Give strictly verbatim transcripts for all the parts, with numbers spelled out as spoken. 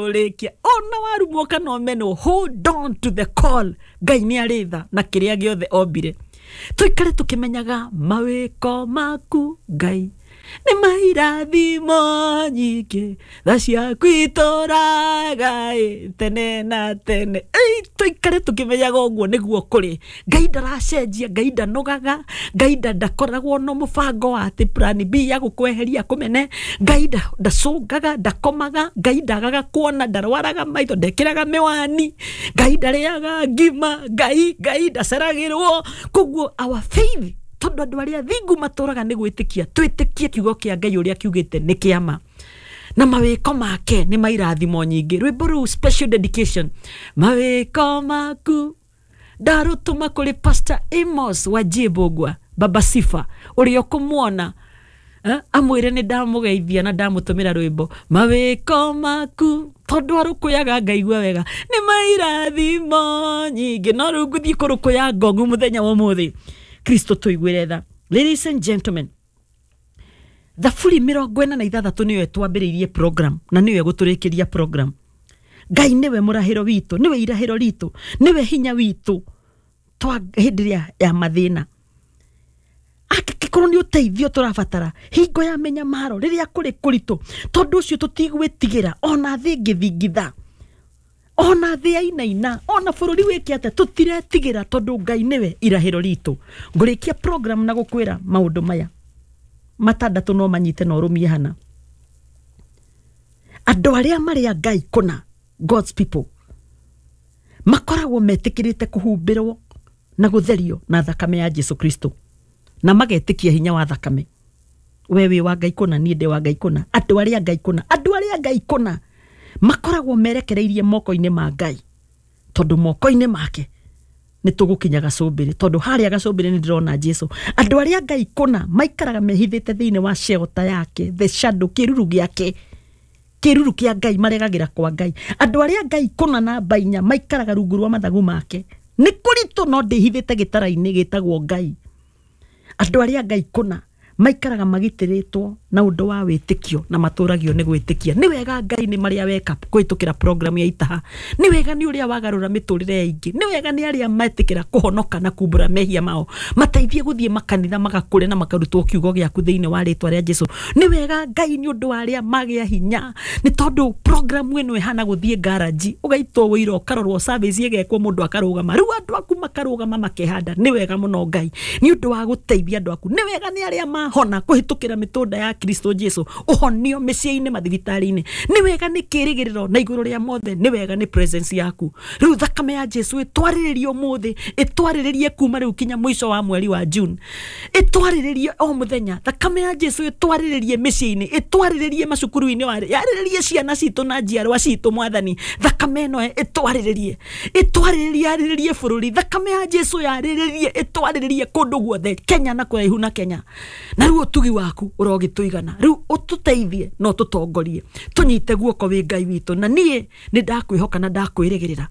Tũrĩkia ona warumwo kana ũmenwo, hold on to the call. Ngai nĩ arĩ tha na kĩrĩa gĩothe ombire. Tũikare tũkĩmenyaga mawĩko maku Ngai nĩ mairathimo nyingĩ, tha ciaku itũraga ĩ tene na tene. Ĩ, tũikare tũkĩmenyaga ũguo nĩguo kũrĩ. Ngai ndaracenjia, Ngai ndanogaga, Ngai ndakoragwo na mũbango wa atĩ plan B ya gũkweheria kũmene. Ngai ndacũngaga, ndakomaga, Ngai ndagaga kuona, ndarwaraga maitho, ndekĩraga mĩwani, Ngai ndarĩaga ngima, Ngai Ngai ndaceragĩrwo. Koguo our faith, tondũ andũ arĩa thingu matũraga nĩ gwĩtĩkia, twĩtĩkie kiugo kĩa Ngai ũrĩa kiugĩte nĩ kĩama na mawĩko make nĩ mairathimo nyingĩ. Rwĩmbo rũu special dedication, mawĩko maku ndarũtũma kũrĩ Pastor Amos wa Jibogwa, Baba Sifa, ũrĩa ũkũmuona eh, amwĩre nĩ ndamũgeithia na ndamũtũmĩra rwĩmbo mawĩko maku, tondũ arũkũyaga ngaigua wega nĩ mairathimo nyingĩ. No rĩu ngũthiĩ kũrũkũya ngongu mũthenya wa ũmũthĩ. Kristo tũiguĩre tha. Ladies and gentlemen, Thaburi mĩrongo ĩna na ithathatũ nĩyo ĩtwambĩrĩirie program na nĩyo ĩgũtũrĩkĩria program. Ngai nĩwe mũrahĩro witũ, nĩwe irahĩro ritũ, nĩwe hinya witũ twa hĩndĩ ĩrĩa ya mathĩna. Angĩkorwo nĩ ũteithio tũrabatara hingo ya mĩnyamaro, rĩrĩa kũrĩ kũritũ, tondũ ũcio tũtigwĩtigĩra ona thĩ ĩngĩthingitha, ona thĩ yainaina, ona bũrũri wĩke atĩa, tũtiretigĩra tondũ Ngai nĩwe irahĩro ritũ. Ngũrĩkia program na gũkwĩra maũndũ maya matandatũ no manyite na ũrũmie hana. Andũ arĩa marĩ a Ngai kũna, God's people, makoragwo metĩkĩrĩte kũhumbĩrwo na gũtherio na thakame ya Jesu Kristo, na magetĩkia hinya wa thakame. We wĩ wa Ngai kũna, niĩ ndĩ wa Ngai kũna. Andũ arĩa Ngai kũna, andũ arĩa Ngai kũna makoragwo merekereirie moko-inĩ ma Ngai, tondũ moko-inĩ make nĩ tũgũkinya gacũmbĩrĩ, tondũ harĩa gacũmbĩrĩ nĩ ndĩrona Jesu. Andũ arĩa Ngai kũna maikaraga mehithĩte thĩinĩ wa shelter yake, the shadow, kĩruru gĩake, kĩruru kĩa Ngai, maregagĩra kwa Ngai. Andũ arĩa Ngai kũna namba inya maikaraga rungu rwa mathagu make. Nĩ kũritũ no ndĩhithĩte gĩtara-inĩ gĩtagwo Ngai. Andũ arĩa Ngai kũna maikaraga magitĩrĩtwo na ũndũ wa wĩtĩkio na matũragio nĩ gwĩtĩkia. Nĩ wega Ngai nĩ marĩa weka kũhĩtũkĩra program ya Itaha. Nĩ wega nĩ ũrĩa wagarũra mĩtũrĩre ya aingĩ. Nĩ wega nĩ arĩa metĩkĩra kũhonoka na kumbũra mehia mao, mateithie gũthiĩ makanitha magakũre na makarutwo kiugo gĩaku thĩinĩ wa rĩtwa rĩa Jesu. Nĩ wega Ngai nĩ ũndũ wa arĩa magĩa hinya, nĩ tondũ program ĩno ĩhana gũthiĩ garage, ũgaitwo wĩira ũkarorwo, service ĩgekwo, mũndũ akarũgama, rĩu andũ aku makarũgama makehanda. Nĩ wega mũno Ngai nĩ ũndũ wa gũteithia andũ aku. Nĩ wega nĩ arĩa mahona kũhĩtũkĩra mĩtũnda ya Kristo Jesu, ũhonio mĩciĩ-inĩ, mathibitarĩ-inĩ. Nĩ wega nĩ kĩrĩgĩrĩro na igũrũ rĩa mothe, nĩ wega nĩ presence yaku. Rĩu thakame ya Jesu ĩtwarĩrĩrie ũmũthĩ, ĩtwarĩrĩrie kuma rĩu kinya mũico wa mweri wa June, ĩtwarĩrĩrie o mũthenya. Thakame ya Jesu ĩtwarĩrĩrie mĩciĩ-inĩ, ĩtwarĩrĩrie macukuru-inĩ, yarĩrĩrie ciana citũ na njiarwa citũ. Mwathani, thakame ĩno ĩtwarĩrĩrie, ĩtwarĩrĩrie, yarĩrĩrie bũrũri. Thakame ya Jesu yarĩrĩrie, ĩtwarĩrĩrie kũndũ guothe, Kenya na kũraihu na Kenya. Na rĩu ũtugi waku ũrogĩtũigana, rĩu ũtũteithie na ũtũtongorie, tũnyite guoko wĩ Ngai witũ. Na niĩ nĩ ndakwĩhoka na ndakwĩrĩgĩrĩra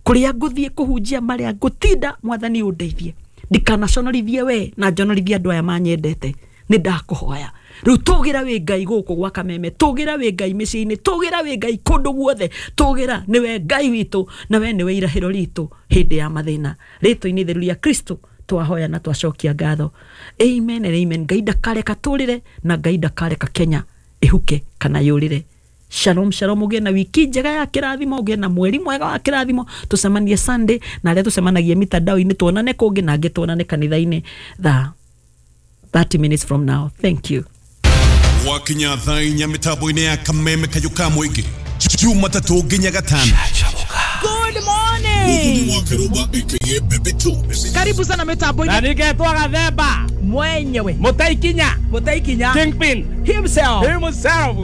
kũrĩa ngũthiĩ kũhunjia, marĩa ngũtinda, Mwathani ũndeithie, ndikanaconorithie we na njonorithie andũ aya manyendete. Nĩ ndakũhoya rĩu, tũgĩra wĩ Ngai gũkũ gwa Kameme, tũgĩra wĩ Ngai mĩciĩ-inĩ, tũgĩra wĩ Ngai kũndũ guothe, tũgĩra nĩwe Ngai witũ na we nĩwe irahĩro ritũ hĩndĩ ya mathĩna. Rĩtwa-inĩ itheru rĩa Kristo twahoya na twacokia ngatho. Amen and amen. Ngai ndakareka tũrĩre na Ngai ndakareka Kenya ĩhuke kana yũrĩre. Shalom shalom. Ũgĩe na wiki njega ya kĩrathimo, ũgĩe na mweri mwega wa kĩrathimo. Tũcemanie Sunday, na arĩa tũcemanagia mitandao-inĩ tuonane kũngĩ, na angĩ tuonane kanitha-inĩ thaa thirty minutes from now. Thank you. Wakinya thaa inya mĩtambo-inĩ ya Kameme Kayũ ka Mũingĩ, Jumatatũ nginya Gatano. Good morning. Karibu sana mitambo-inĩ. Na ningetwo Gathemba mwenyewe, Mũtaikinya, Mũtaikinya Kingpin himself, himself.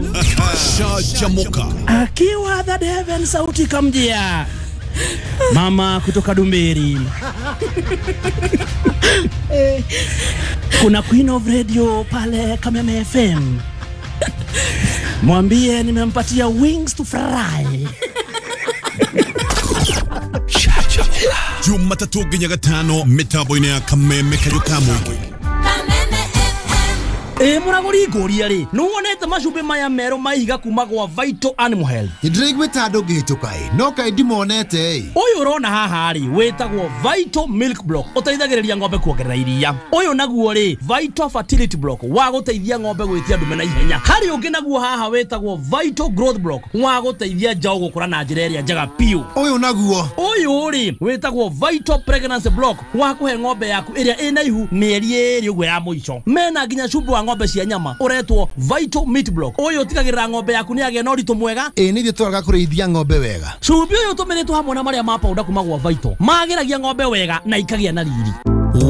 Shajamoka akiwa that heaven, sauti kamjia mama kutoka Dumberi. Kuna Queen of Radio pale Kameme F M, mwambie nimempatia wings to fry. Jumatatu nginya Gatano mĩtambo-inĩ ya Kameme Kayũ ka Mũingĩ. Ĩ mũragũri ngũria rĩ, nĩwonete macumbĩ maya merũ ma ihiga kuma gwa Vital Animal Health? Ndĩraiguĩte andũ ngĩhĩtũka ĩ, no kaĩ ndimonete ĩ. Ũyũ ũrona haha rĩ, wĩtagwo Vital Milk Block, ũteithagĩrĩria ng'ombe kuongerera iria. Ũyũ naguo rĩ, Vital Fertility Block, wa gũteithia ng'ombe gwĩtia ndume na ihenya. Harĩ ũngĩ naguo haha wĩtagwo Vital Growth Block, wa gũteithia njaũ gũkũra na njĩra ĩrĩa njega biũ. Ũyũ naguo? Ũyũ rĩ, wĩtagwo Vital Pregnancy Block, wa kũhe ng'ombe yaku ĩrĩa ĩna ihu mĩeri ĩrĩ ũguo ya mũico. Mena nginya cumbĩ wa ng'ombe cia nyama ũretwo Vital Meat Block. Ũyũ ũtigagĩrĩra ng'ombe yaku nĩ yagĩa na ũritũ mwega. Ĩ nĩ ithuĩ twaraga kũrĩithia ng'ombe wega. Cumbĩ ũyũ ũtũmĩrĩtwo hamwe na marĩa ma powder kuma gwa Vital magĩragia ng'ombe wega na ikagĩa na riri.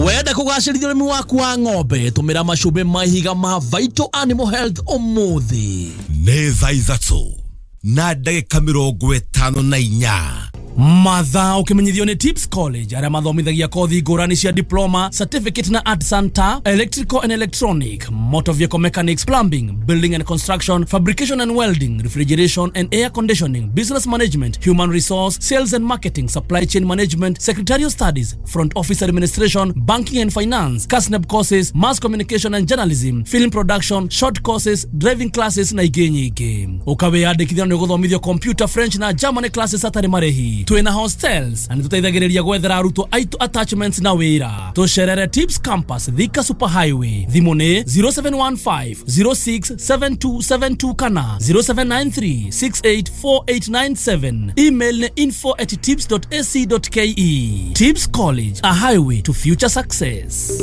Wenda kũgacĩrithia ũrĩmi waku wa ng'ombe, tũmĩra macumbĩ ma ihiga ma Vital Animal Health ũmũthĩ. Nĩ thaa ithatũ na ndagĩka mĩrongo ĩtano na inya. Mathaa ũkĩmenyithio nĩ Tips College arĩa mathomithagia kothi ngũrani cia diploma, certificate na art center, electrical and electronic, motor vehicle mechanics, plumbing, building and construction, fabrication and welding, refrigeration and air conditioning, business management, human resource, sales and marketing, supply chain management, secretarial studies, front office administration, banking and finance, KASNEB courses, mass communication and journalism, film production, short courses, driving classes na ingĩ nyingĩ. Ũkawĩyandĩkithia nĩ ũgũthomithio computer, French na German classes hatarĩ marĩhi. Twĩna hostels na nĩtũteithagĩrĩria gwethera arutwo aitũ attachments na wĩra. Tũcerere Tips Campus, Thika Super Highway. Thimũ nĩ zero seven one five zero six seven two seven two kana zero seven nine three six eight four eight nine seven. Email nĩ info at tips dot a c dot k e. Tips College, a highway to future success.